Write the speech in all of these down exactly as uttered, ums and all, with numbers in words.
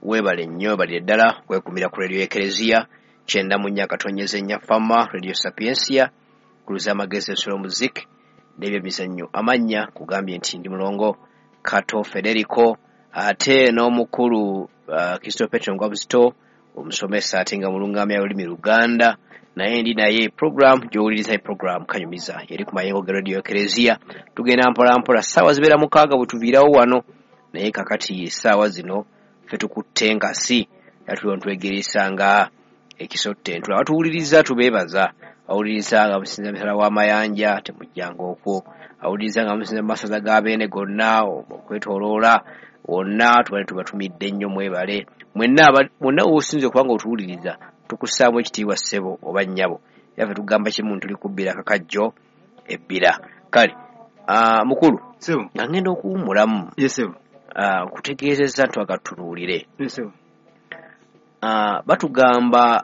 Weebale nnyo, weebalire ddala kwekumira ku Radio Ekereziya kyenda mu nnya akatonyeza ennya Fama, Radio Sapiensia, kuluza amagezi, ensolo, muziki n'ebyemizannyo. Amannya kugambye nti ndi Mulongo Kato Federico, ate n'omukulu uh, Kristo Petro Ngwabuzito, omusomesa ate nga mulungamya olulimi Luganda, naye ndi naye. Program gy'owuliriza, program Kanyumiza, yeri ku mayengo ga Radio Ekereziya. Tugenda mpola mpola, ssaawa zibeera mukaaga bwe tuviirawo wano, naye kakati essaawa zino ffe tukutte enkasi era tuliwo ntwegeresa nga ekisotte entula. Batuwuliriza tubeebaza. Awuliriza nga musinza misala w'amayanja, temujjanga okwo. Awuliriza nga musinza mu masaza ga Beene gonna okwetooloola wonna, tubale tubatumidde nnyo, mwebale mwenna. Mwonna wosinze okuba nga otuwuliriza, tukussaamu ekitiibwa, ssebo oba nnyabo. Era ffe tugamba kimu, tuli kubbira kakajjo ebbira. Kale mukulu, nga ngenda okuwummulamu, kutegeezezza nti twagatunuulire, batugamba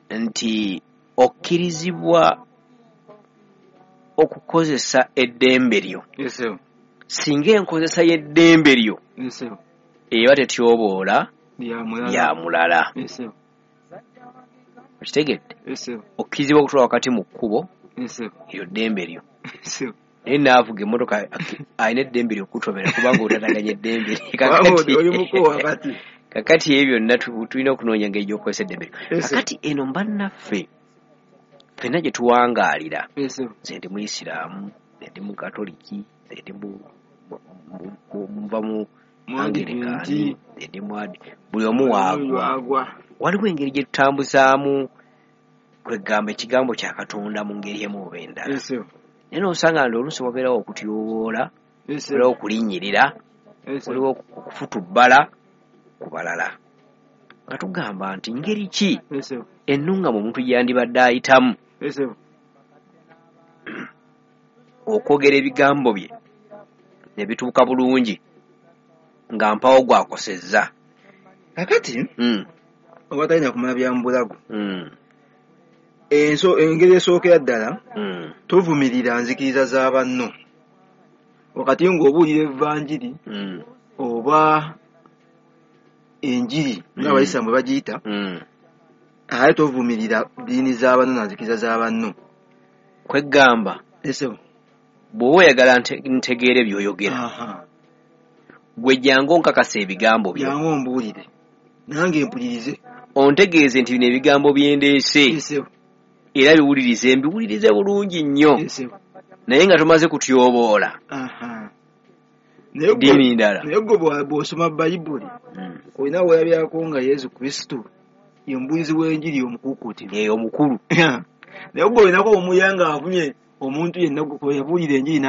nti okkirizibwa okukozesa eddembe lyo singa enkozesa y'eddembe lyo eba tetyoboola lya mulala. Okitegedde? Okkirizibwa okutula wakati mu kkubo, eryo ddembe lyo, naye naavuga emmotoka alina eddembe lyo okutomera kubanga otataganya eddembe. Kakati ebyo byonna tulina okunoonya engeri gy'okukozesa eddembe lyo. Kakati eno mbannaffe ffenna gye tuwangaalira, nze ndi Muyisiraamu, nze ndi Mukatoliki, nze ndi nva mu Angirikaani, nze ndi mwadi, buli omu waagwa. Waliwo engeri gye tutambuzaamu kwegamba ekigambo kya Katonda mu ngeri emu oba endala, naye n'osanga nti oluusi wabeerawo okutyoboola, wabeerawo okulinnyirira, waliwo okufutubbala ku balala, nga tugamba nti ngeri ki ennungamu omuntu gyandibadde ayitamu okwogera ebigambo bye ne bituuka bulungi nga mpawo gwakosezza. Kakati oba talina kumala bya mubulago, engeri esookera ddala, tovumirira nzikiriza za banno wakati ng'obuulira evanjiri oba enjiri ng'abayisiraamu bwe bagiyita, ate tovumirira ddiini za banno na nzikiriza za banno. Kwegamba bw'oba oyagala ntegeere by'oyogera, gwe jangu onkakasa ebigambo byo, jangu ombuulire nange mpulirize, ontegeeze nti bino ebigambo byendeese era biwulirize, mbiwulirize bulungi nnyo, naye nga tomaze kutyoboola ddiini ndala. Naye gwe bw'osoma Bayibuli olina weerabyako nga Yesu Kristo ye mubuulizi w'enjiri omukuukuutivu, omukulu. Naye gwe olinako omuya ng'avumye omuntu yenna yabuulira enjiri.